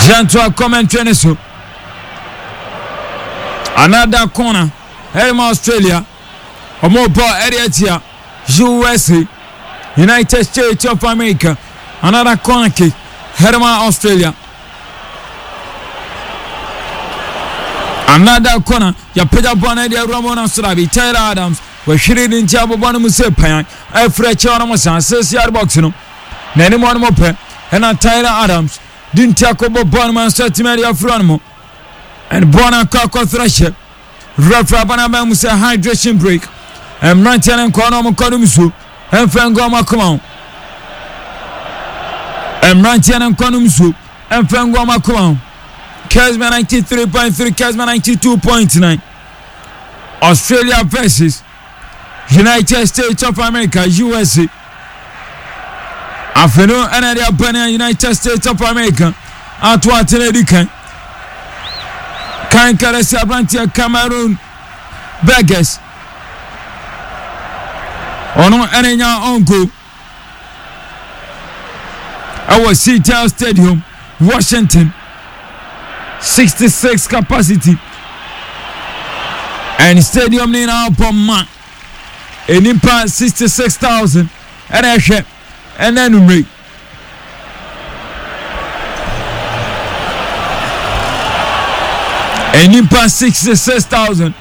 Yɛntoa commentary no so. Another corner ɛde ma Australia. Wɔn bɔ ɛde atia USA, United States of America. Another corner kick ɛde ma Australia. Another corner yɛapagya bɔ no de awura mu no soro abi Tyler Adams wɔhwere ne nti abobɔ no mu sɛ pan afiri akyɛ ɔno mo san six yard box no n'anim ɔno mo pɛ ɛna Tyler Adams de nti akɔbɔ bɔɔl no mu nso atumi de afiri ɔno mo ɛne bɔɔl no akɔ akɔsoro hyɛ referee aba no aba mu sɛ hydration break mmeranteɛ no nkɔɔ na ɔmo nkɔ nom nsuo ɛmfa ngu ɔmo akoma ho mmeranteɛ no nkɔ nom nsuo ɛmfa ngu ɔmo akoma ho Kesma 93.3 Kesma 92.9 Australia versus United States of America USA afei no ɛna ɛde aba ne United States of America ato atena adi kan kan kɛrɛ sɛ aberanteɛ Cameroon Burgess ɔno ɛna nya ɔnko ɛwɔ Seattle Stadium Washington 66 capacity and stadium no nyinaa bɔ ma nnipa 66,000 ɛna ɛhwɛ ɛna anumere nnipa 66,000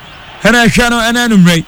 ɛna ɛhwɛ no ɛna anumere.